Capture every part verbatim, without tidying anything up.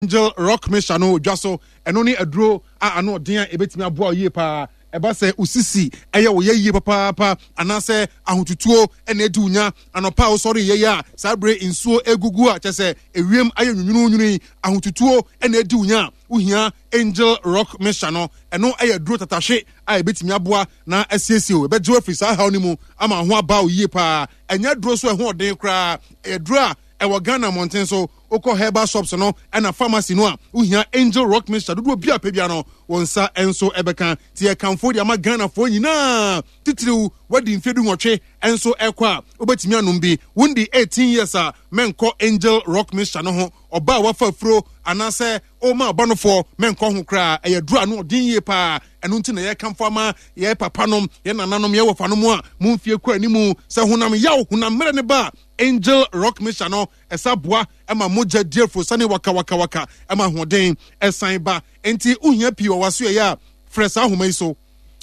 Angel Rock Mixture no dwa so. Ɛno ne aduro a ano ɔden a ɛbɛtumi aboa wo yie paa. Ɛba sɛ wo sisi ɛyɛ wo yɛ yie papaapa anaasɛ ahotutuo ɛna adi wo nya anɔpa a wosɔre yɛ yɛ a, saa bere nsuo egugu a kyɛ sɛ ewiem ayɛ nwunwununwunu yi, ahotutuo ɛna adi wo nya a, wohia Angel Rock Mixture no. Ɛno ɛyɛ aduro tatahwe a ɛbɛtumi aboa na asiesie wo, ɛbɛgye wo afiri saa haw no mu ama ho aba wo yie paa. Ɛnyɛ aduro so ɛho ɔden koraa, ɛyɛ aduro a ɛwɔ Ghana mmɔnten so. Wokɔ herbal shops no ɛna pharmacy no a, wohia Angel Rock Mixture dodoɔ bi a pɛ bia no, wɔn nsa nso ɛbɛka. Nti yɛkamfo de ama Ghanafoɔ nyinaa, titiriw wadi mfeɛ du nwɔtwe nso ɛkɔ a, wobɛtumi anom bi. Wondi eighteen years a, mɛnkɔ Angel Rock Mixture no ho. Ɔba a wafa afuro anaasɛ ɔma ɔba mɛnkɔ ho koraa. Ɛyɛ duro ano ɔden yie paa. Ɛno nti na yɛkamfo ama yɛ papa nom, yɛ nananom, yɛ wɔfa nom a mo mfie kɔ animu sɛ honam yaw, honam mmerɛ ne ba a, Angel Rock Mixture no ɛsa boa ɛma mogya di afuro sane wakawakawaka, ɛma ahoɔden ɛsan ba. Nti wohia pii wɔ waso ɛyɛ a, frɛ saa ahoma yi so.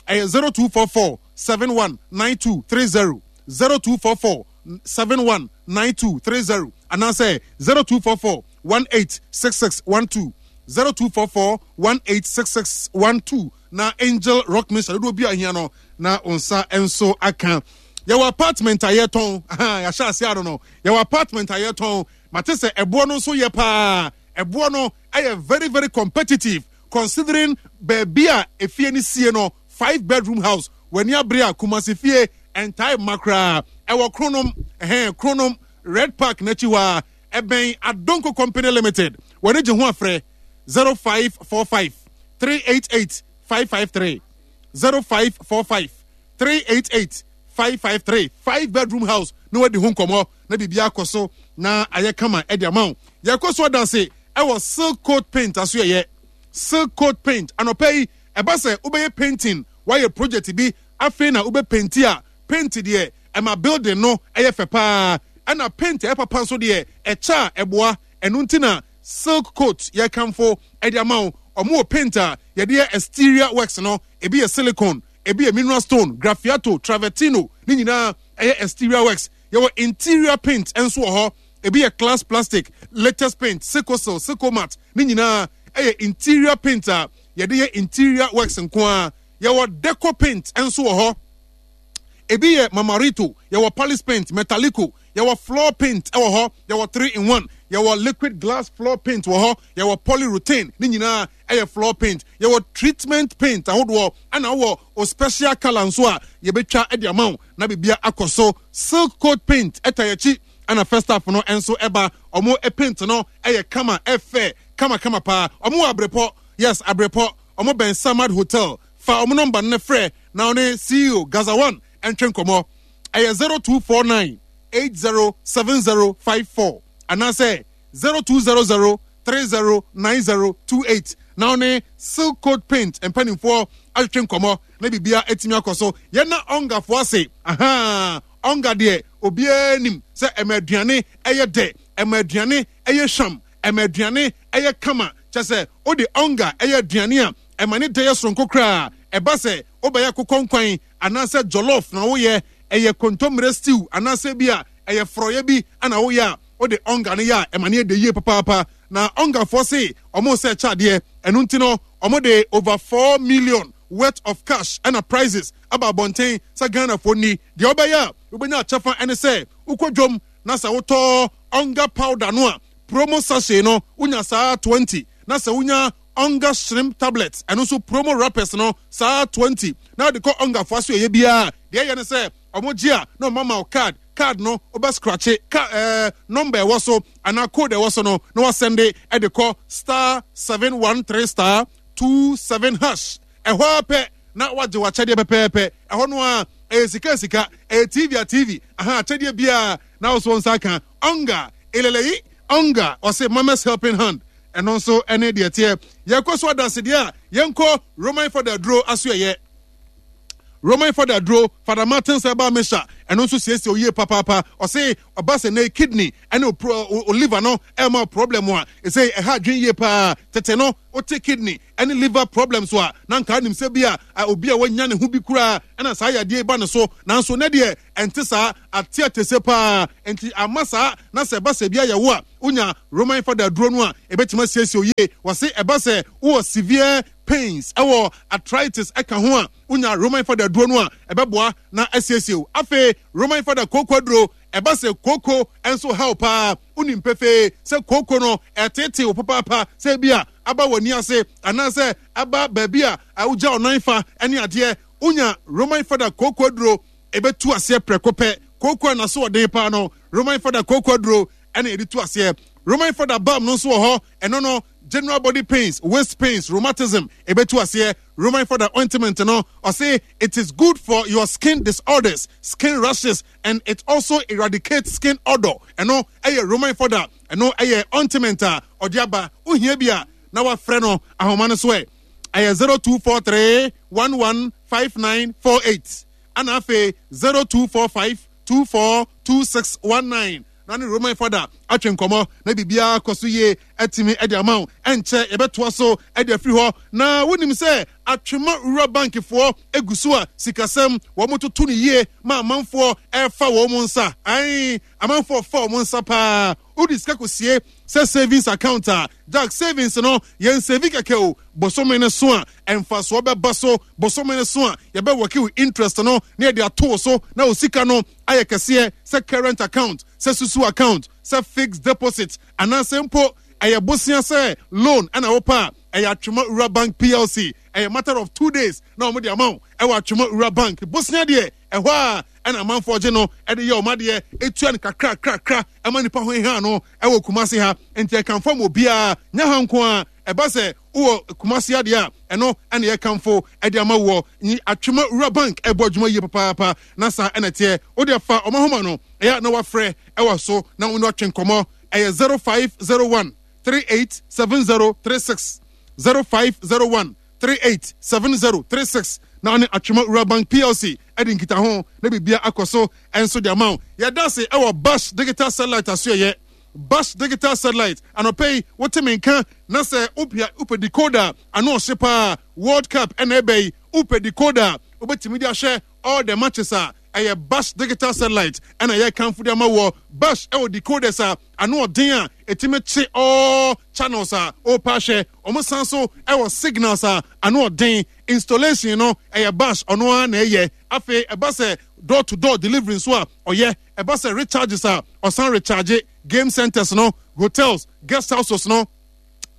Ɛyɛ zero two four four seven one nine two three zero, zero two four four seven one nine two three zero, anaasɛ zero two four four one eight six six one two, zero two four four one eight six six one two. Na Angel Rock Mixture dodoɔ bi a ahia no na wo nsa nso aka. Yɛwɔ apartment a yɛtɔn. Yɛahyɛ ase ano no, yɛwɔ apartment a yɛtɔn. Mate sɛ ɛboɔ no nso yɛ paa. Ɛboɔ no ɛyɛ very very competitive considering baabi a efie no sie no. Five bedroom house, w'ani abere a, Kumasi fie ɛntae mma koraa. Ɛwɔ Kronom, ɛhɛn, Kronom Red Park n'akyi hɔ a ɛbɛn Adonko Company Limited. Wɔne gye ho afrɛ zero five four five three eight eight five five three, zero five four five three eight eight five five three. Five bedroom house na wadi ho nkɔmmɔ na biribi akɔ so na ayɛ kama ɛde ama wo. Yɛkɔ so adanse ɛwɔ Silk Coat Paint aso. Yɛyɛ Silk Coat Paint anɔpɛ yi. Ɛba sɛ wobɛyɛ painting, wayɛ project bi afei na wobɛ paint a, paint deɛ ɛma building no ɛyɛ fɛ paa, ɛna paint ɛyɛ papa nso deɛ ɛkyɛ a ɛboa. Ɛno nti na Silk Coat yɛkamfo ɛde ama wo. Ɔmo wɔ paint a yɛde yɛ exterior works no. Ebi yɛ silicone, ebi yɛ mineral stone, graffiato, travertino, ne nyinaa ɛyɛ exterior works. Yɛwɔ interior paint nso wɔ hɔ. Ebi yɛ class plastic, latest paint, sicosil, sicomat, ne nyinaa ɛyɛ interior paint a yɛde yɛ interior works nko ara. Yɛwɔ deco paint nso wɔ hɔ. Ebi yɛ mamarito, yɛwɔ palace paint, metalico, yɛwɔ floor paint ɛwɔ hɔ, yɛwɔ three in one, yɛwɔ liquid glass floor paint wɔ hɔ, yɛwɔ polyurethane, ne nyinaa ɛyɛ floor paint. Yɛwɔ treatment paint ahodoɔ, ɛna wɔ o special colour nso a yɛbɛtwa ɛde ama wo na biribia akɔ so. Silk Coat Paint ɛta yɛkyi, ɛna first half no nso ɛba. Ɔmo paint no ɛyɛ kama, ɛfɛ kama kama paa. Ɔmo wɔ Abrepɔ, yes, Abrepɔ. Ɔmo bɛn Samad Hotel. Fa ɔmo number no frɛ na ɔne C E O Gaza One ɛntwe nkɔmɔ. Ɛyɛ zero two four nine eight zero seven zero five four anaasɛ zero two zero zero three zero nine zero two eight na ɔne Silk Coat Paint mpanimfoɔ atwetwe nkɔmɔ na biribia atumi akɔ so. Yɛna ɔngafoɔ ase. Aha ɔnga deɛ, obiara nim sɛ ɛma aduane ɛyɛ dɛ, ɛma aduane ɛyɛ hwam, ɛma aduane ɛyɛ kama. Kyɛ sɛ wode ɔnga ɛyɛ aduane a, ɛma ne dɛ yɛ soronko koraa. Ɛba sɛ wobɛyɛ kokɔ nkwan anaasɛ jollof na woyɛ, ɛyɛ kontommire stew anaasɛ bi a ɛyɛ forɔyɛ bi ana woyɛ a, wode ɔnga no yɛ a, ɛma ne yɛ dɛ yie papaapa. Na ɔngafoɔ se ɔmo sɛ kyɛ adeɛ. Ɛno nti no ɔmo de over four million worth of cash ɛna prizes aba abɔnten sɛ Ghanafoɔ ni. Deɛ wobɛyɛ a wobɛnya akyɛfa ɛne sɛ wokɔ dwom na sɛ wotɔ ɔnga powder no a, promo sachet no, wonya saa twenty, na sɛ wonya ɔnga shrimp tablet, ɛno nso promo wrappers no saa twenty, na wode kɔ ɔngafoɔ so ɛyɛ biara deɛ ɛyɛ ne sɛ ɔmo gye a, na ɔma ma wo card. Card no wobɛ scratch ka ɛɛ number ɛwɔ so anaa code ɛwɔ so no na wasɛnde ɛde kɔ star seven one three star two seven hash. Ɛhɔ apɛ na wagye w'akyɛdeɛ pɛpɛɛpɛ. Ɛhɔ no a ɛyɛ sika sika, ɛyɛ T V a T V, aha akyɛdeɛ biara na woso nsa ka. Ɔnga eleleyi, ɔnga ɔse mama's helping hand. Ɛno nso ɛne deɛ teɛ. Yɛkɔ so adansedeɛ a yɛnkɔ Roman Fada aduro aso. Ɛyɛ Roman Fada duro, Fada Martins herbal mixture, ɛno nso siesie oyie papaapa. Ɔse ɔba sɛ ne kidney ɛne o liver no ɛma problem a, ɛsɛ ɛha adwene yie paa. Tete no wote kidney ɛne liver problems a, na nka nim sɛ bi a obi a wanya ne ho bi koraa ɛna saa yadeɛ ba ne so, nanso ne deɛ ɛnte saa, ate atese paa. Nti ama saa na sɛ ɛba sɛ bi ayɛ wo a, wonya Roman Fada duro no a, ɛbɛtumi asiesie oyie. Wɔse ɛba sɛ wowɔ severe pains ɛwɔ arthritis ɛka ho a, wonya Roman Fada duro no a, ɛbɛboa na asiesie wo. Afei Roman Fada kooko aduro, ɛba sɛ kooko nso haw paa, wonim pefee sɛ kooko no ɛtete wo papaapa, sɛ bi a aba w'ani ase anaasɛ aba baabi a wogya ɔnan fa ne adeɛ, wonya Roman Fada kooko aduro, ɛbɛtu aseɛ prɛko pɛ. Kooko a naso ɔden paa no, Roman Fada kooko aduro ɛna yɛde tu aseɛ. Roman Fada balm no nso wɔ hɔ, ɛno no general body pains, waist pains, rheumatism, ɛbɛtu aseɛ. Roman Fada ointment no, ɔse it is good for your skin disorders, skin rashes, and it also eradicates skin odor. Ɛno ɛyɛ Roman Fada, ɛno ɛyɛ ointment a ɔde aba. Wohia bi a, na wafrɛ no ahoma no so ɛ, ɛyɛ zero two four three one one five nine four eight, ana afei zero two four five two four two six one nine, na ne Roman Fada atwe nkɔmmɔ na biribiara kɔ so yie atumi de ama wo. Ɛnkyɛ yɛbɛtoa so de afiri hɔ. Na wonim sɛ Atwema Rural Bankfoɔ egu so a sikasɛm wɔn toto no yie ma amanfoɔ ɛfa wɔn nsa. Ae, amanfoɔ fa wɔn nsa paa. Wode sika kɔsie sɛ savings account a, Jack, savings no yɛn save kɛkɛ o. Bosome no so a, ɛmfasoɔ bɛba so. Bosome no so a, yɛbɛwɔke wo interest no na yɛde ato wo so na wo sika no ayɛ kɛseɛ, sɛ current account, sɛ susu account, sɛ fixed deposit, anaasɛ mpo ɛyɛ bosea sɛ loan ɛna wopɛ a, ɛyɛ Atwema Rural Bank P L C. Ɛyɛ matter of two days na wɔn de ama wo ɛwɔ Atwema Rural Bank. Bosea deɛ, ɛhɔ a ɛna amanfoɔ gye no ɛde yɛ ɔmo adeɛ, etua no kakra kakra ɛma nipa ho hia no ɛwɔ Kumase ha. Nti ɛkanfo ma obiara nya ha nko a, ɛba sɛ wowɔ Kumase adeɛ a, ɛno ɛna yɛkamfo ɛde ama wɔ nyi Atwema Rural Bank. Ɛbɔ adwuma yie papaapa na saa ɛna teɛ. Wode fa ɔmo ahoma no ɛyɛ na wafrɛ ɛwɔ so na wɔn atwe nkɔmɔ. Ɛyɛ zero five zero one three eight seven zero three six, zero five zero one three eight seven zero three six, na ɔne Atwema Rural Bank P L C ɛde nkitaho na biribia akɔ so ɛnso de ama wo. Yɛda ase ɛwɔ Bash Digital Satellite aso. Ɛyɛ Bash Digital Satellite. Anɔpɛ yi wote me nka na sɛ wopia wopɛ decoder ano ɔhye paa, World Cup ɛna ɛbɛ yi, wopɛ decoder wobɛtumi de ahwɛ all the matches a, ɛyɛ Bash Digital Satellite ɛna ɛyɛ kanfo de ama wɔ. Bash ɛwɔ decoders a ano ɔden a ɛtumi kye all channels a ɔrepa ahwɛ. Wɔn san so ɛwɔ signals a ano ɔden. Installation no ɛyɛ Bash ɔno ara na ɛyɛ. Afei ɛba sɛ door to door delivery nso a ɔyɛ. Ɛba sɛ recharges a, ɔsan recharge game centers no, hotels, guest houses no.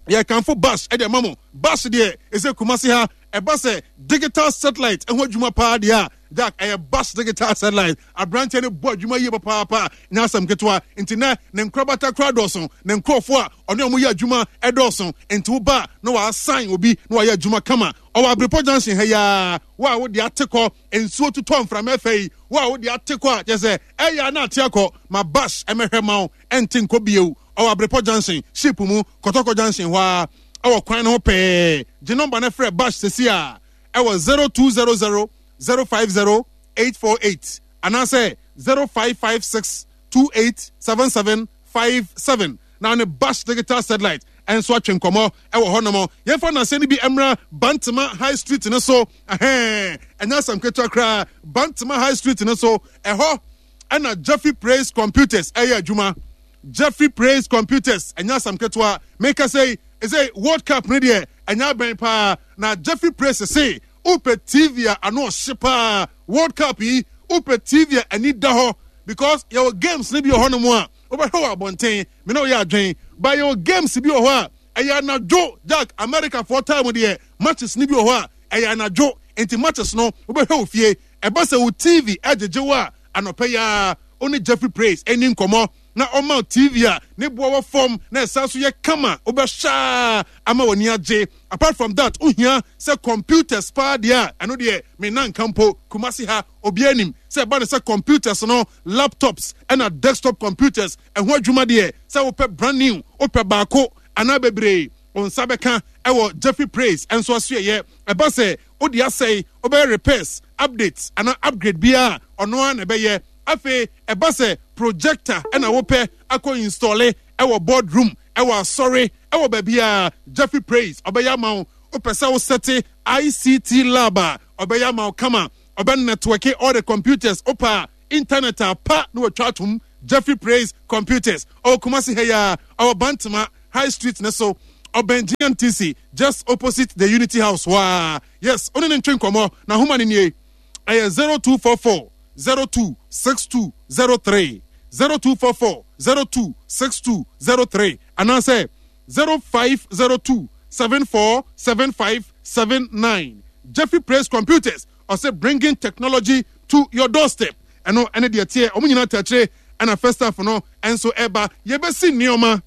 Yɛkamfo Bash ɛde ama mo. Bash deɛ, ɛsɛ Kumase ha, ɛba sɛ digital satellite ɛho adwuma paa deɛ a, Jack, ɛyɛ Bash Digital Satellite. Aberanteɛ no bɔ adwuma yie papaapa, nyɛ asɛm ketewa. Nti nɛ ne nkorabata kora dɔɔso, ne nkurɔfoɔ a ɔne ɔmo yɛ adwuma ɛdɔɔso. Nti woba na waasan obi na wayɛ adwuma kama. Ɔwɔ Abrepɔ Junction ha yaa. Wo a wode ate kɔ nsuo tutɔ mframa ɛfɛ yi, wo a wode ate kɔ a kyerɛ sɛ ɛyɛ a na ate akɔ, ma Bash ɛmɛhwɛ ma wo, ɛnte nkɔ bio. Ɔwɔ Abrepɔ Junction, ship mu, Kɔtɔkɔ Junction hɔ a, ɛwɔ kwan no ho pɛɛ. Gye nɔmba no frɛ Bash sesi a ɛwɔ zero two zero zero zero five zero eight four eight anaasɛ zero five five six two eight seven seven five seven, na ne Bash Digital Satellite ɛnso atwe nkɔmmɔ ɛwɔ hɔnom. Yɛmfa naseɛ no bi mmra Bantama High Street no so. Ɛhɛn, ɛnyɛ asɛm ketewa koraa. Bantama High Street no so ɛhɔ ɛna Jeffrey Praise Computers ɛyɛ adwuma. Jeffrey Praise Computers, ɛnyɛ asɛm ketewa. Meka sɛ ɛsɛ World Cup no deɛ, ɛnyɛ abɛn paa na Jeffrey Praise se wopɛ T V a ano ɔhye paa World Cup yi, wopɛ T V a ani da hɔ, because yɛwɔ games no bi wɔ hɔnom a wobɛhwɛ wɔ abɔnten, me na woyɛ adwen ba. Yɛwɔ games bi wɔ hɔ a ɛyɛ anadwo, Jack, America foɔ time deɛ, matches no bi wɔ hɔ a ɛyɛ anadwo. Nti matches no wobɛhwɛ wɔ fie. Ɛba sɛ wo T V ɛgyegye wo a, anɔpɛ yi a ɔne Jeffrey Praise ɛni nkɔmmɔ na ɔma T V a ne boa wɔ fam na ɛsan so yɛ kama, wobɛhyɛ ama w'ani agye. Apart from that, wohia sɛ computers paa deɛ a, ɛno deɛ me nanka mpo. Kumasi ha obiara nim sɛ ɛba ne sɛ computers no, laptops ɛna desktop computers ɛho adwuma deɛ, sɛ wopɛ brand new, wopɛ baako anaa bebree, wo nsa bɛka ɛwɔ Jeffrey Praise ɛnso aso. Ɛyɛ ɛba sɛ wode asɛe, wobɛyɛ repairs Update anaa upgrade biara ɔno ara na ɛbɛyɛ. Afei ɛba sɛ projector ɛna wopɛ akɔ install ɛwɔ boardroom, ɛwɔ asɔre, ɛwɔ baabiara, Jeffrey Praise ɔbɛyɛ ama wo. Wopɛ sɛ wo set I C T lab a, ɔbɛyɛ ama wo kama. Ɔbɛ network all the computers. Wopɛ a internet a pa na watwa atom. Jeffrey Praise Computers ɔwɔ Kumasi ha yi a, ɔwɔ Bantama High Street ne so, ɔbɛn G M T C, just opposite the Unity House waa. Yes, ɔne ne ntwe nkɔmmɔ na ahoma ne nie, ɛyɛ zero two four four zero two six two zero three, zero two four four zero two six two zero three, anaasɛ zero five zero two seven four seven five seven nine. Jeffrey Praise Computers ɔsɛ bringing technology to your doorstep. Ɛno ɛne deɛ teɛ. Ɔmo nyinaa tɛkyerɛ ɛna first half no ɛnso ɛba. Yɛbɛsi nneɛma,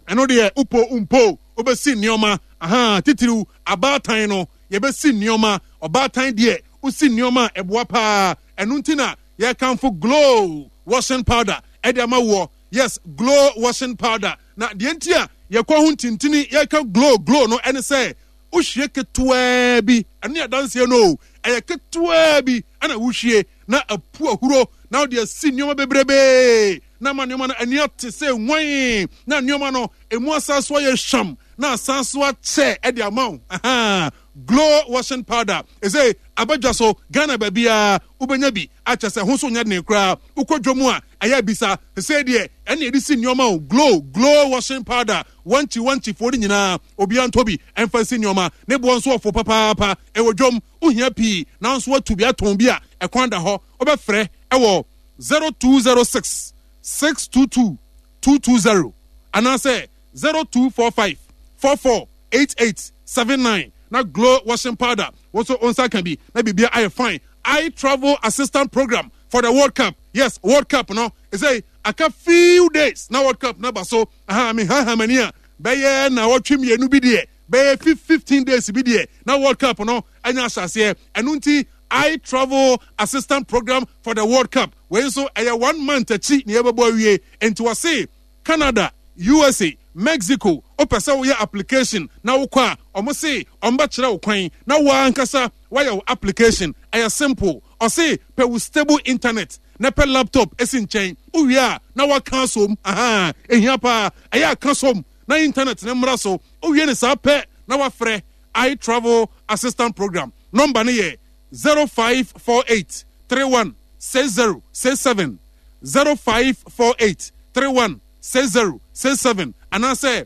ɛno deɛ upo mpo wobɛsi nneɛma aha titiriw abaatan no. Yɛbɛsi nneɛma ɔbaatan deɛ, wosi nneɛma a ɛboa paa. Ɛno nti na yɛkamfo Glow washing powder ɛde ama woɔ. Yes, Glow washing powder. Na deɛ nti a yɛkɔ ho ntintini yɛka Glow Glow no ɛne sɛ wohwie ketewaa bi, ɛno yɛ adanseɛ no o, ɛyɛ ketewaa bi ɛna wohwie na apu ahuro na wode asi nneɛma bebrebee na ama nneɛma no ani ate sɛ nwan, na nneɛma no emu asa so ayɛ hwam na asan so akyɛ ɛde ama wo. Aha, Glow washing powder ɛsɛ abadwa so Ghana baabiara wobɛnya bi akyɛ sɛ ho so nyɛ den koraa. Wokɔ dwa mu a, ɛyɛ bisa sɛ deɛ ɛne yɛde si nneɛma o. Glow Glow washing powder, wankyi wankyifoɔ no nyinaa, obiara ntɔ bi ɛmfa nsi nneɛma. Ne boɔ nso ɔfo papaapa. Ɛwɔ dwom, wohia pii nanso watu bi atɔn bi a, ɛkwan da hɔ. Wobɛfrɛ ɛwɔ zero two zero six six two two two two zero anaasɛ zero two four five four four eight eight seven nine na Glow washing powder wɔn nso wɔn nsa ka bi na biribia ayɛ fine. I Travel Assistant Program for the World Cup. Yes, World Cup no ɛsɛ aka few days na World Cup na ba so. Aha me ha hamani a bɛyɛ na wɔtwe mmienu bi deɛ, bɛyɛ fifteen days bi deɛ na World Cup no anya ahyɛaseɛ. Ɛno nti I Travel Assistant Program for the World Cup wei nso ɛyɛ one month akyi na yɛbɛbɔ awie. Nti wɔse Canada, U S A, Mexico, wopɛ sɛ woyɛ application na wokɔ a, ɔmo se ɔmo bɛkyerɛ wo kwan na woa ankasa woayɛ wo application. Ɛyɛ simple. Ɔse pɛ wo stable internet na pɛ laptop esi nkyɛn. Wowie a na waka asom. Aha ehia paa, ɛyɛ aka som na internet ne mmra so. Wowie ne saa pɛ na wafrɛ I Travel Assistant Program. Number no yɛ zero five four eight three one six zero six seven, zero five four eight three one six zero six seven, anaasɛ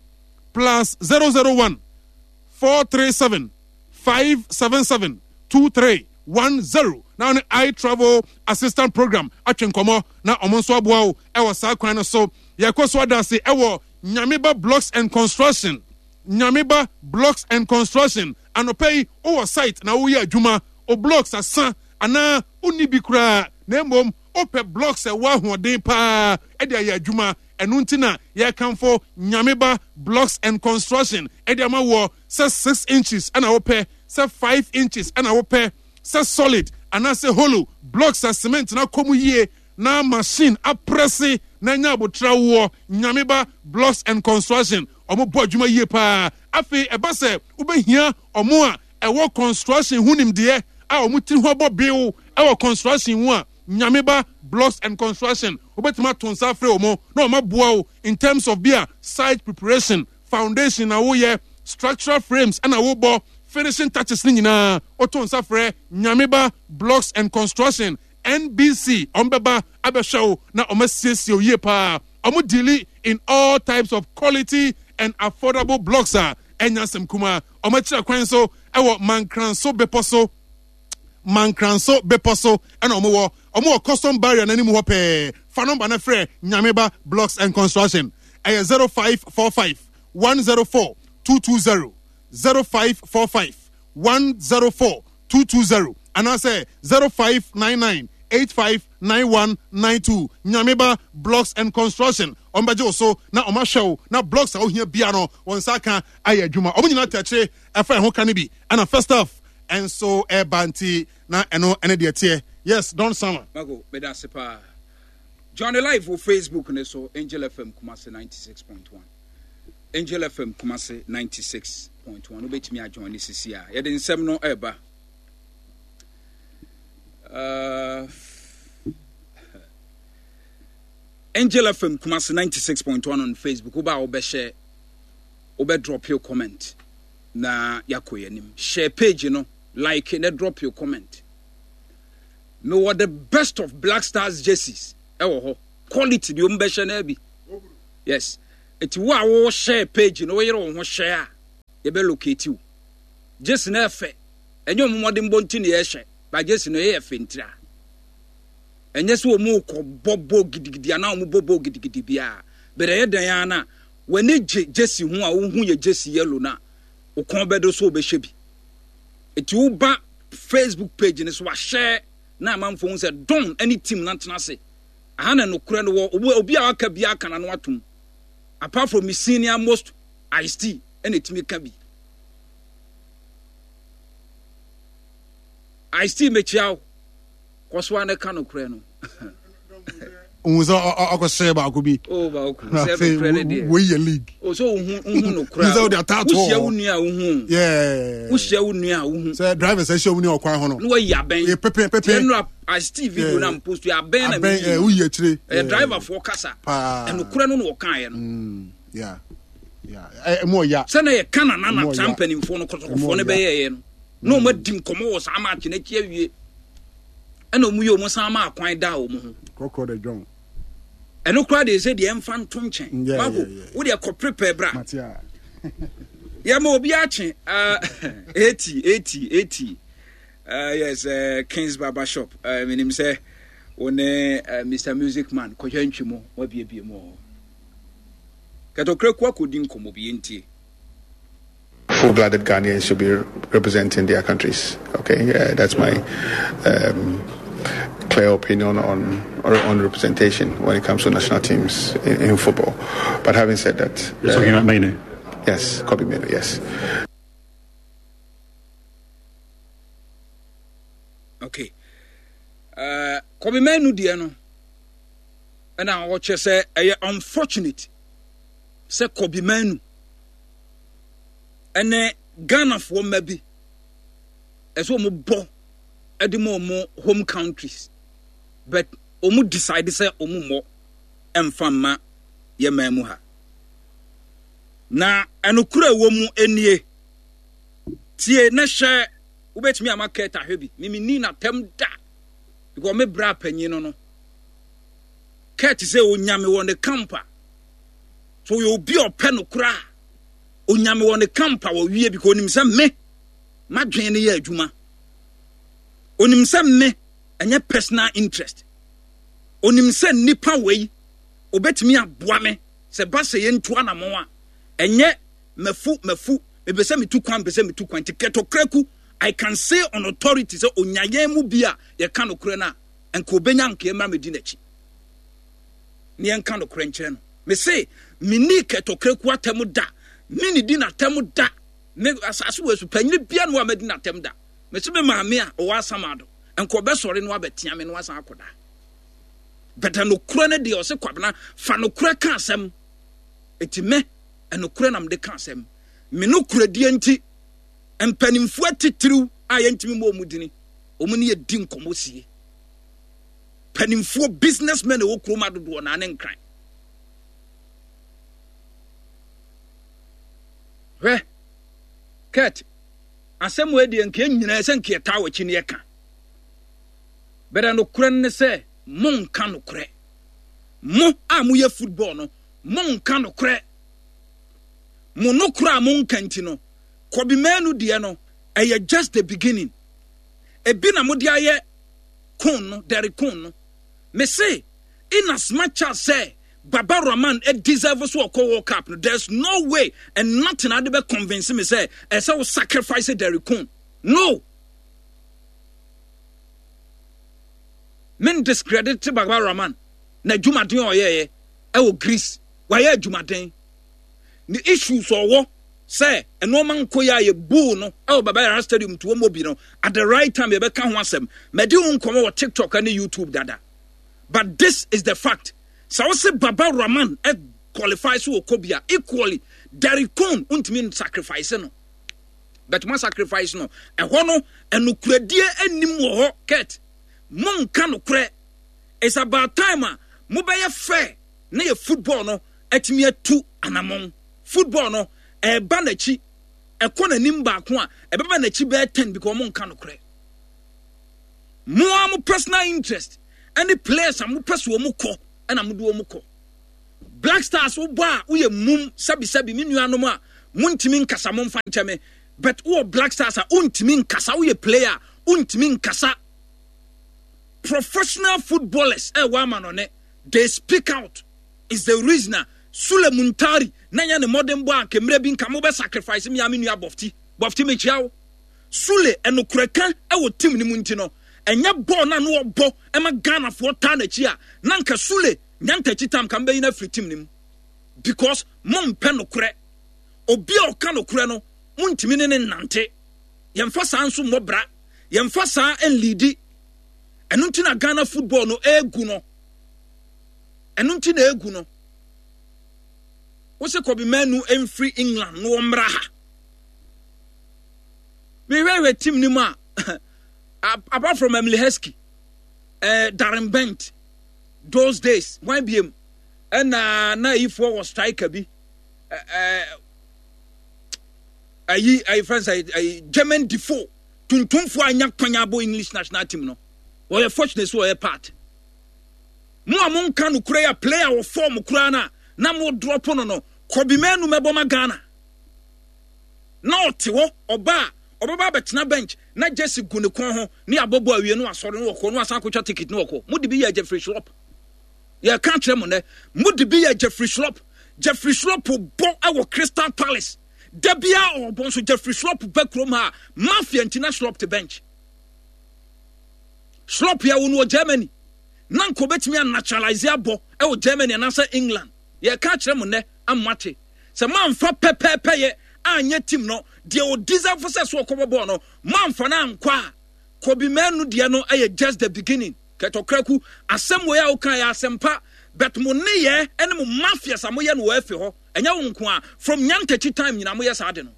plus zero zero one four three seven five seven seven two three one zero na ɔne I Travel Assistant Program atwe nkɔmmɔ na ɔmo nso aboa wo ɛwɔ saa kwan no so. Yɛkɔ so adase ɛwɔ Nyameba Blocks and Construction. Nyameba Blocks and Construction, anɔpɛ yi wowɔ site na woyɛ adwuma, o blocks asa anaa wonni bi koraa na mmom wopɛ blocks ɛwɔ ahoɔden paa ɛde ayɛ adwuma, ɛno nti na yɛkamfo Nyameba Blocks and Construction ɛde ama wɔ sɛ six inches ɛna wopɛ, sɛ five inches ɛna wopɛ, sɛ solid anaasɛ hollow blocks a cement na kɔ mu yie na machine apress na nya abotra woɔ. Nyameba Blocks and Construction, ɔmo bɔ adwuma yie paa. Afei ɛba sɛ wobɛhia ɔmo a ɛwɔ construction ho nimdeɛ a ɔmo tiri ho abɔ bill ɛwɔ construction mu a, Nyameba Blocks and Construction, wobɛtumi ato nsa afrɛ ɔmo na ɔmo aboa wo in terms of bi a site preparation, foundation na woyɛ, structural frames ɛna wobɔ, finishing touches ne nyinaa. Woto nsa frɛ Nyameba Blocks and Construction, N B C, ɔmo bɛba abɛhwɛ wo na ɔmo asiesie wo yie paa. Ɔmo deal in all types of quality and affordable blocks a ɛnya asɛm kuma. Ɔmo akyerɛ kwan so ɛwɔ Mankranso Bepɔ so. Mankranso Bepɔ so ɛna ɔmo wɔ. Ɔmo wɔ custom barrier n'anim hɔ pɛɛ. Fa number no frɛ Nyameba Blocks and Construction, ɛyɛ zero five four five one zero four two two zero, zero five four five one zero four two two zero, anaasɛ zero five nine nine eight five nine one nine two. Nyameba Blocks and Construction, ɔmo bɛgye wo so na ɔmo ahwɛ wo na blocks a wohia bia no wɔn nsa aka ayɛ adwuma. Ɔmo nyinaa tɛkyerɛ ɛfa ɛho ka no bi ɛna first half ɛnso ɛba nti na ɛno ɛne deɛ teɛ. Yes, Don Sama. Mako, meda ase paa. Johnny live wɔ Facebook ne so, Angel F M Kumase ninety-six point one, Angel F M Kumase ninety-six point one. Wobɛtumi ajoin ne sisi a yɛde nsɛm no ɛreba. Uh, Angel F M Kumasi ninety-six point one on Facebook. Woba a wobɛhyɛ, wobɛ drop your comment na yɛakɔ yɛn anim. Share page no, like na drop your comment. Mewɔ the best of Black Stars jerseys ɛwɔ hɔ. Quality deɛ ɔmo bɛhyɛ no bi. Yes. Eti wo a wo share page no, woyere wo ho share a, yɛbɛ locate wo. Jersey no ɛfɛ. Ɛnyɛ ɔmo mmɔden bɔ nti na yɛhyɛ. Ba jersey no ɛyɛ fɛ ntira. Ɛnyɛ sɛ wɔn kɔ bɔ bɔ gidigidi anaa wɔn bɔ bɔ gidigidi biara, bɛrɛ ɛyɛ dan ara na w'ani gye jersey ho a, wohu yɛ jersey yellow na wo kɔn bɛdo so wobɛhyɛ bi. Eti woba Facebook page no so wahyɛ na amanfoɔ hu sɛ Don ne team na tena ase aha na nokorɛ no wɔ. obi obi a waka bi aka na no atom, apart from me senior most Ice T ɛna etumi ka bi. Ice T, mekyia wo, kɔ so a ne ka nokorɛ no. Ohun sɛ ɔkɔhyɛ baako bi. O baako sɛ nokorɛ no deɛ. Wei yɛ league. O so wohu wohu nokorɛ a wode ataato. Wohyia wo nua a wohu. Yeah. Wohyia wo nua a wohu. Sɛ drivers ahyia mu ne ɔkwan ho no. Na wayi abɛn. Yɛ pepe pepe. Tiɛ nura Ice T video na mpost yɛ abɛn na mi yi. Woyi akyire. Ɛyɛ driver foɔ kasa. Paa. Ɛnokorɛ no na ɔkaeɛ no. Yeah. Yeah. Ɛmu ɔya. Sɛ na yɛ ka nana na saa mpanimfoɔ no kɔtɔkɔfoɔ no bɛyɛɛyɛ no na wɔn adi nkɔmɔ wɔ saa match n'akyi awie, ɛna wɔn yɛ wɔn san ma akwan da wɔn ho. Kɔkɔrɔ de dwɔn. Ɛno koraa de sɛ deɛ ɛmfa nto nkyɛn mako wo deɛ kɔ prepare bra yɛma obi akye eighty eighty eighty. uh, yes uh, Kings Barber Shop, uh, menim sɛ wo ne uh, Mister Music Man kɔhwɛ ntwi mu wabiebie mu wɔ hɔ kɛtɔkura ku akɔdi nkɔmmɔ bi, yɛntie. Full-blooded Ghanaians should be representing their countries. Okay, uh, that's my um, clear opinion on on representation when it comes to national teams in, in football. But having said that, you're talking uh, about Mainoo. Yes, Kobbie Mainoo. Yes. Okay. Uh, Kobbie Mainoo deɛ no, ɛna ɔkyerɛ sɛ ɛyɛ unfortunate sɛ Kobbie Mainoo ɛne Ghanafoɔ mma bi ɛsɛ wɔn bɔ ɛde ma wɔn home countries, but wɔn decide sɛ wɔn mmɔ ɛmfa mma yɛ man mu ha. Na ɛnokora ɛwɔ mu nie, tie na hyɛ wobɛtumi ama kɛt ahwɛ bi. Mimi ni n'atɛm da because me bra panyin no no kɛt sɛ onyame wɔ ne camp a, so ɔyɛ obi a ɔpɛ no koraa. Onyame wɔ ne camp a wɔwie because onim sɛ me madwene no yɛ adwuma, onim sɛ me ɛnyɛ personal interest, onim sɛ nipa wei obetumi aboa me sɛ ba sɛ yɛntu anammɔn a ɛnyɛ mafu mafu mepɛ sɛ metu kwan, mepɛ sɛ metu kwan. Nti Kurt Okraku, I can say on authority sɛ onya yɛn mu bi a yɛka nokorɛ no a, nka obenya nka yɛmmra mɛdi n'akyi ne yɛnka nokorɛ nkyerɛ no. Me se menni Kurt Okraku atɛm da, me ne di n'atɛm da. Me asase wɔ so panyini bia no a madi n'atɛm da. Me se me maame a ɔwɔ Asamado nka ɔbɛsɔre no abɛtea me no asan akɔda bɛtɛ. Nokorɛ no deɛ, ɔse Kwabena fa nokorɛ ka asɛm. Eti me ɛnokorɛ nam de ka asɛm. Me nokorɛdie nti, mpanimfoɔ atitiriw a yɛntumi mmɔ ɔmo dini, ɔmo ne yɛdi nkɔmmɔ sie. Mpanimfoɔ, businessmen a ɛwɔ kurom adodoɔ naa ne Nkran hwɛ Kurt asɛm wɔ deɛ nka nyinaa sɛ nka yɛtaa w'akyi ne yɛka bɛrɛ. Nokorɛ no ne sɛ monka nokorɛ. Mo a moyɛ football no, monka nokorɛ. Mo nokorɛ a monka nti no, Kobbie Mainoo deɛ no ɛyɛ just the beginning. Ebi na mode ayɛ kon no, Derek Kon no. Me se in as much as sɛ Baba Rahman deserve so ɔkɔ World Cup no, there's no way and nothing ade bɛ convince me sɛ ɛsɛ wo sacrifice Derek Kon no. Men discredit Baba Rahman na adwumaden a ɔyɛɛyɛ ɛwɔ Greece. Wayɛ adwumaden. Ne issues ɔwɔ sɛ nneɛma nkɔ yɛ a yɛbuu no ɛwɔ Baba Yara Stadium to wɔn bi no, at the right time yɛbɛka ho asɛm. Mɛdi ho nkɔmɔ wɔ TikTok ne YouTube dada, but this is the fact. Sɛ wose Baba Rahman ɛ qualify so wɔ kɔ bia, equally Derek Kon ntumi sacrifice no, but mo sacrifice no ɛhɔ no, ɛnokoradie anim wɔ hɔ. Kurt, Monka nokorɛ. It's about time a mobɛyɛ fair na yɛ football no atumi atu anammɔn. Football no ɛreba n'akyi, ɛkɔ n'anim baako a ɛbɛba n'akyi bɛyɛ ten because monka nokorɛ. Mo ara mo personal interest ɛne players a mopɛ so wɔn kɔ ɛna mode wɔn kɔ. Black Stars wobɔ a woyɛ mum sɛbisɛbi me nuanom a montumi nkasa momfa nkyɛ me, but wowɔ Black Stars a wontumi nkasa, woyɛ player a wontumi nkasa. Professional footballers ɛwɔ ama no ne they speak out is the reason a Sule Muntari na nya ne mmɔden bɔ a kemmerɛ bi nka mobɛ sacrifice me a me nua Bɔfti Bɔfti mekyia wo. Sule ɛnokorɛka ɛwɔ team no mu nti no ɛnyɛ bɔɔl na no ɔbɔ ɛma Ghanafoɔ taa n'akyi a na nka Sule nyantakyi tam ka mbɛyi no afiri team no mu because mompɛ nokorɛ. Obi a ɔka nokorɛ no montumi ne ne nnante. Yɛmfa saa nso mmɔ bra, yɛmfa saa nlidi. Ɛno nti na Ghana football no egu no. Ɛno nti na egu no. Wose Kobe Manu mfiri England na wɔmmra ha. Mehwɛhwɛ team no mu a apart from Emily Heskey, eh, Darren Bent, those days, one B M, ɛna na ayifoɔ wɔ striker bi, eh, ayi, ayi friends, ayi, ayi, Jermaine Defoe, tuntumfoɔ anya kwan abɔ English national team no. Wɔyɛ fortunate so wɔyɛ part. Mo a monka no kura ya player wɔ form kura na na mo drop no no, Kobe Manu mɛbɔ ma Ghana. Na ɔte hɔ ɔba a ɔbɛba abɛtena bench na Jesse gu ne kɔn ho ne abɔbɔ awie no asɔre no wɔkɔ no asan akɔtwa ticket no wɔkɔ. Mo de bi yɛ Jeffrey Schlupp. Yɛ ka kyerɛ mo nɛ, mo de bi yɛ Jeffrey Schlupp. Jeffrey Schlupp bɔ ɛwɔ Crystal Palace. Da bia ɔbɔ nso Jeffrey Schlupp bɛ kurom ha mafia nti na Schlupp te bench. Schlupp yɛ wo no wɔ Germany. Na nko betumi a naturalize abɔ ɛwɔ Germany anaasɛ England. Yɛ ka kyerɛ mo nɛ amate. Sɛ manfa pɛpɛɛpɛ yɛ anyɛ team no deɛ o deserve sɛ so ɔkɔbɔ bɔɔl no manfa na ankɔ a Kobe Manu deɛ no ɛyɛ just the beginning. Kɛtɔkraku asɛm wei a woka yɛ asɛmpa, but mo ne yɛ ɛne mo mafias a moyɛ no wɔ afi hɔ ɛnyɛ wo nko a from nyantakyi time nyinaa moyɛ saa de no.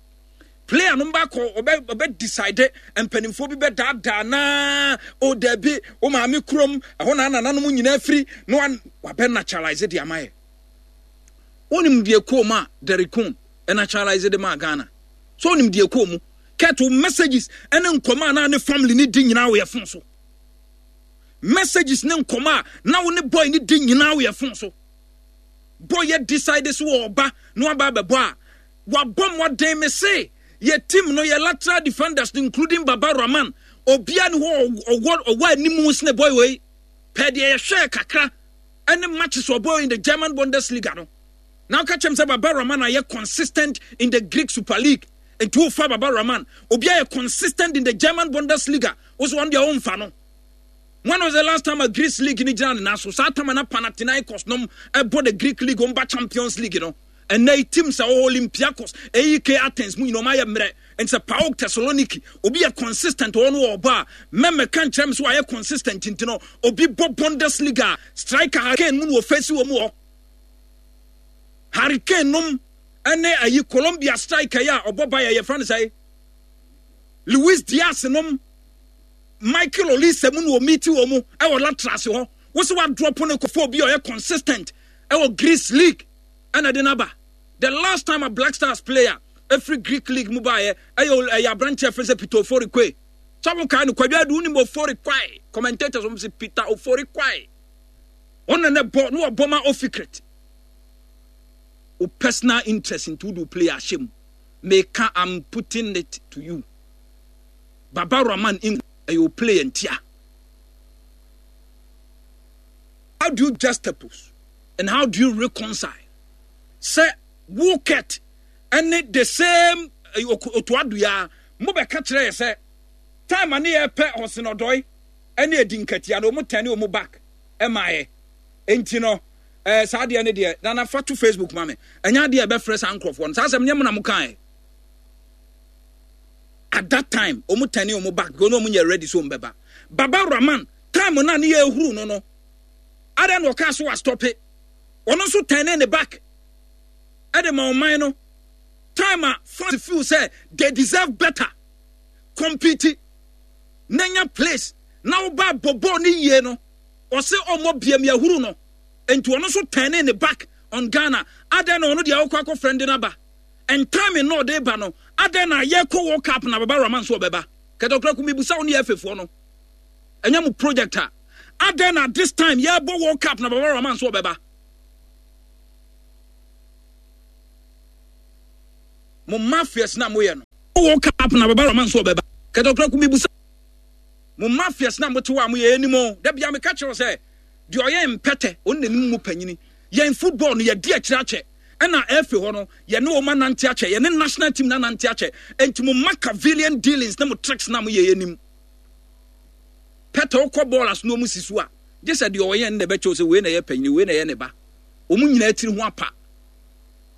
Player no mba kɔ ɔbɛ ɔbɛ decide mpanimfoɔ bi bɛ daadaa naa o dabi o maame kurom ɛhɔ na nananom nyinaa firi na wabɛ naturalize de ama yɛ. Wonim deɛ kɔɔ mu a Derek Kuhn naturalize de maa Ghana. So wonim deɛ kɔɔ mu kɛto messages ɛne nkɔmɔ a na ne family ne di nyinaa wɔ yɛ phone so. Messages ne nkɔmɔ a na wo ne boy ne di nyinaa wɔ yɛ phone so. Boy yɛ decide so wɔ ɔba na waba abɛbɔ a wabɔ mmɔden me se yɛ team no yɛ lateral defenders including Baba Rahman obia ne hɔ ɔwɔ ɔwɔ anim sene boy wei pɛ deɛ yɛhwɛ kakra ɛne matches ɔbɔ in the German Bundesliga no. Now catch him say Baba Rahman are consistent in the Greek Super League. And two fa Baba Rahman obia yɛ consistent in the German Bundesliga. Also on their own fa no. When was the last time a Greece league ni gyina ne nan so? Saa time na Panathinaikos nom ɛbɔ the Greek league omba Champions League no. And they teams are Olympiacos, A E K Athens mu nyinaa ɔmo ayɛ mmerɛ. And sɛ PAOK Thessaloniki obi yɛ consistent ɔno wɔ ɔba a mɛmɛ kan kyerɛ me so ayɛ consistent nti no obi bɔ Bundesliga striker Harry Kane mu na ofesi wɔ mu hɔ. Harry Kane nom ɛne ayi Colombia striker yi a ɔbɔ ba yɛ yɛ frɛ no sɛ Luis Diaz nom Michael Olise mu na omiti wɔ mu ɛwɔ latrase hɔ. Wosi wa drop no kɔfo obi a ɔyɛ consistent ɛwɔ Greece league ɛna de naba. The last time a Black Stars player every Greek league mu baayɛ ɛyɛ ɛyɛ aberanteɛ fɛn sɛ Peter Ofori Quaye. Sɛ wo kae no Kwadwo Adu wonim Ofori Quaye commentators wɔn sɛ Peter Ofori Quaye. Ɔno na bɔ na wɔbɔ ma Ofikret. O personal interest into do player ahyɛ mu. Meka I'm putting it to you. Baba Rahman in ɛyɛ o player ntia. How do you juxtapose and how do you reconcile? Sɛ Woket ɛne the same otoaduya mo bɛka kyerɛ yɛ sɛ time a ne yɛ pɛ Hɔsenɔdɔe ɛne edi nkatia no ɔmo tɛne ɔmo back ɛma yɛ. Enti no eh, saa deɛ ne deɛ nana fa to Facebook ma me. Ɛnyɛ adeɛ ɛbɛfrɛ saa nkurɔfoɔ no. Saa asɛm nyɛ mo na mo kae. At that time ɔmo tɛne ɔmo back because ɔmo nyɛ ready so ɔmo bɛba. Baba Rahman time na ne yɛ ehuru no no. Adɛn na ɔkaa so wa stop it. Ɔno nso tɛne ne back. Ɛde ma ɔman no time a fans feel say they deserve better. Compete. Nenya place Na woba bɔbɔ ne yie no, ɔse ɔmmɔ biam yɛhuru no. Enti ɔno nso turning ne back on Ghana. Adɛn na ɔno deɛ ɔkɔ akɔ friend no aba? And time no ɔde ba no, adɛn na yɛkɔ World Cup na Baba Rahman nso ɔbɛba? Kɛtɛkura mibusa wo ne yɛfefoɔ no. Ɛnyɛ mo project a. Adɛn na this time yɛbɔ World Cup na Baba Rahman nso ɔbɛba? Mo mafias na moyɛ no. World Cup na Baba Rahman nso ɔbɛba. Kɛtɛkura mibusa mo mafias na mote hɔ a moyɛ anim o. Da bia meka kyerɛ sɛ deɛ ɔyɛ mpɛtɛ ɔno n'anim mu panyini. Yɛn football no yɛdi akyire akyɛ. Ɛna ɛfe hɔ no yɛne wɔn anante akyɛ, yɛne national team na anante akyɛ. Enti mo Machiavellian dealings na mo tricks na mo yɛ anim. Pɛtɛ wokɔ bɔɔl aso na wɔn si so a, gye sɛ deɛ ɔyɛ no na ɛbɛkyɛw sɛ wei na ɛyɛ panyini, wei na ɛyɛ ne ba. Wɔn nyinaa tiri ho apa.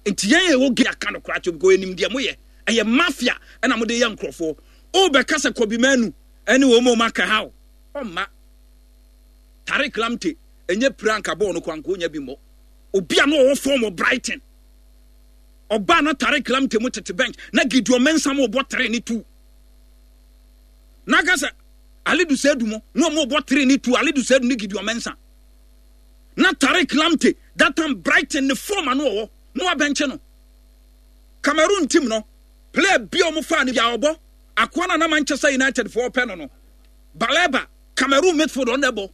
Nti yɛn yɛ wɔ gay aka no koraa kyɛw because anim deɛ moyɛ. Ɛyɛ mafia ɛna mode yɛ nkurɔfoɔ. Wobɛka sɛ Kobe Manu ɛne wɔn a wɔn aka ha o. Ɔmma. Tariq Lamptey ɛnyɛ pira nka bɔɔl no kora nka onya bi mmɔ. Obi a na ɔwɔ form wɔ Brighton. Ɔbaa na Tariq Lamptey mu tete bench na Gideon Mensah mu bɔ three ne two. Na ka sɛ Alidu Seidu mu na ɔmo bɔ three ne two, Alidu Seidu ne Gideon Mensah. Na Tariq Lamptey that time Brighton ne form ano ɔwɔ na wabɛnkye no. Cameroon team no player bi a ɔmo faa no bi a ɔbɔ akoa na na Manchester United foɔ pɛ no no. Baleba Cameroon midfield ɔno ɛbɔ.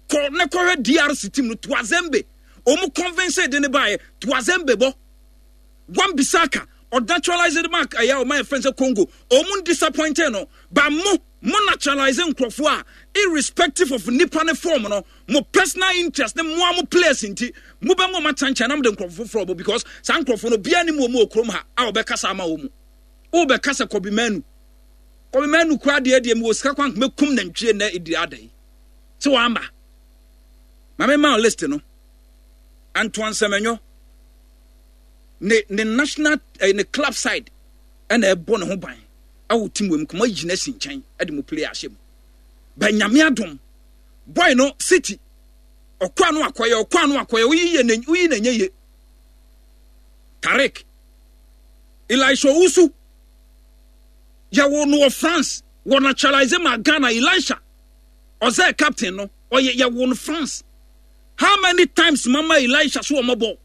Kɔ ne kɔhwɛ D R C team no Tuazembe. Ɔmo convince de ne baayɛ Tuazembe bɔ. Wan Bissaka ɔnaturalize mark ɛyɛ ɔmo ayɛ fɛn sɛ Congo. Ɔmo disappointed no. Ba mo mo naturalize nkurɔfoɔ a irrespective of nipa ne form no mo personal interest ne mo a mo players nti mo bɛ mo ma kyankyɛn na mo de nkurɔfoɔ foforɔ bɔ because saa nkurɔfoɔ no bia ne mu ɔmo wɔ kurom ha a ɔbɛkasa ama wɔn mu. Ɔbɛkasa Kobe Manu. Kobe Manu kura deɛ deɛ mi wɔ sika kwan mɛ kum nantwie na edi ada yi. Sɛ wamba. Maame maa list no. Antoine Semenyo ne ne national eh, ne club side ɛna ɛbɔ ne ho ban ɛwɔ team wɔ mu kuma gyina si nkyɛn ɛde mo player ahyɛ mu. Ba Nyame adom boy no City ɔkɔ ano akɔyɛ ɔkɔ ano akɔyɛ oyi yɛ ne oyi na nye ye. Tariq Elisha Owusu yɛwɔ no wɔ France wɔ naturalize ma Ghana. Elisha ɔsɛ captain no ɔyɛ yɛwɔ no France. How many times mama Elisha so ɔmɔbɔ?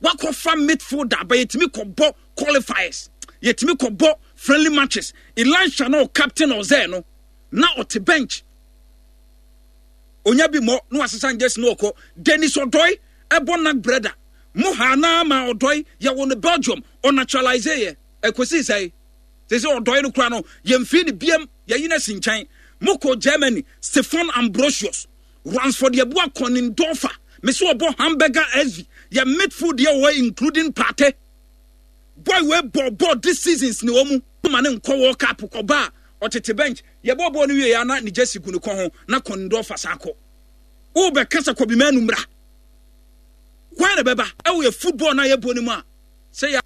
Wakɔfa midfielder but yɛtumi kɔbɔ qualifiers, yɛtumi kɔbɔ friendly matches. Elisha no captain ɔsɛ no na ɔte bench. Onya bi mɔ na wasesa njesi na ɔkɔ. Dennis Odoi ɛbɔ nak brother mo ha na ma Odoi yɛwɔ no Belgium ɔnaturalize yɛ ɛkɔsi sɛ sɛ sɛ Odoi no kura no yɛmfii ne biam yɛyi no asi nkyɛn. Mokɔ Germany Stefan Ambrosius Ransford Yeboah Konindorfer me sɛ ɔbɔ Hamburger S V yɛ midfield yɛ wɔ including Partey boy we bɔ bɔ this seasons ne wɔn mu ma ne nkɔ World Cup kɔba a ɔtete bench yɛbɔ bɔɔl no wie ya na ne jersey gu ne kɔn ho na Konindorfer san kɔ. Wobɛka sɛ Kobe Manu mmra kwan na bɛba ɛwɔ yɛ football na yɛbɔ ne mu a sɛ yɛ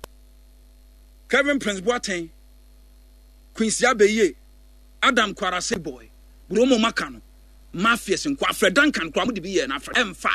Kevin Prince Boateng Quincy Abeye Adam Kwarase boy Bromo maka no mafias nko Afrɛ Duncan kora mo de bi yɛ na Afrɛ ɛmfa